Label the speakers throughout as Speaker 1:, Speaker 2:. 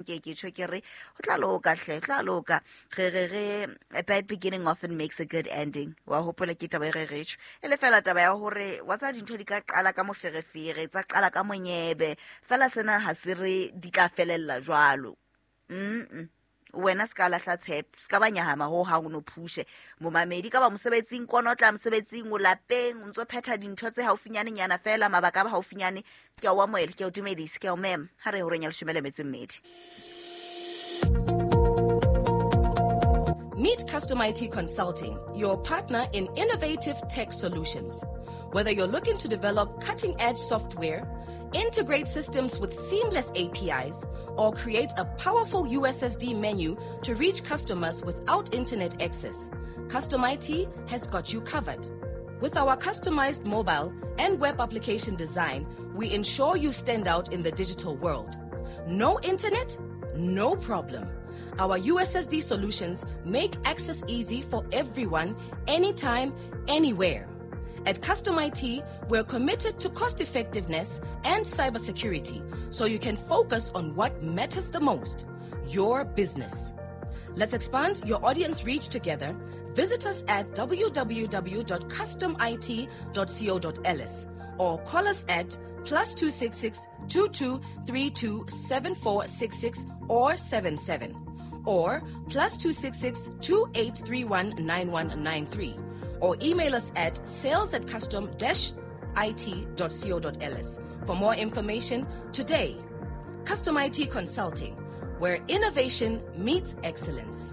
Speaker 1: Ke ke tjho ke re ho tla loka hle, tla loka. Re re re a bad beginning often makes a good ending. Wa hopola ke taba e re re tjho. E le fela taba ya hore wa tsa dintho di ka qala ka moferefere, tsa qala ka monyebe. Fela sena ha se re di tla felella jwalo. Mm. Wena se ka lahla tshepo, se ka ba nyahama ho hang, o no phushe momamedi ka ba mosebetsing kono, o tla mosebetsing, o lapeng, o ntso phetha dintho tse haufinyane nyana fela, mabaka a ba haufinyane. Ke a o amohela, ke a o dumedisa, ke a o mema. Ha re horeng ya 12.
Speaker 2: Meet Custom IT Consulting, your partner in innovative tech solutions. Whether you're looking to develop cutting edge software, integrate systems with seamless APIs, or create a powerful USSD menu to reach customers without internet access, Custom IT has got you covered. With our customized mobile and web application design, we ensure you stand out in the digital world. No internet? No problem. Our USSD solutions make access easy for everyone, anytime, anywhere. At Custom IT, we're committed to cost effectiveness and cybersecurity so you can focus on what matters the most, your business. Let's expand your audience reach together. Visit us at www.customit.co.ls or call us at +266 2232 7466 or 77 or +266 2831 9193 or email us at sales@custom-it.co.ls for more information today. Custom IT Consulting, where innovation meets excellence.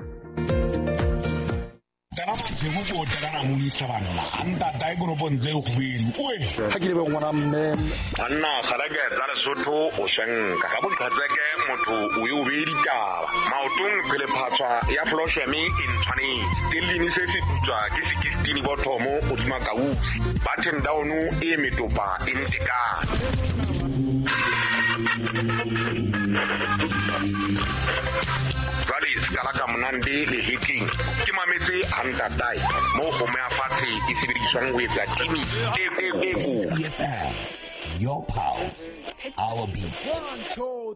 Speaker 3: Tana masego ko tana modisa banna a ntatae koropong tse kgobedi oe.
Speaker 4: Ha ke lebe ngwana mme.
Speaker 3: Banna kgaleke tsa Lesotho o shenka ka boqhetseke motho o ye o beye ditaba maotong phelephatshwa ya flosheme e ntshwanetse telline se se putswa ke sekistini bothomo godima kausi button down e metopa e ntekane. Jwale se ka la ka monande lehetleng ke mametse a ntatae mo kgomo ya fatshe e sebediswang ho etsa timi e e e
Speaker 5: Your pulse, our beat.
Speaker 6: 1, 2,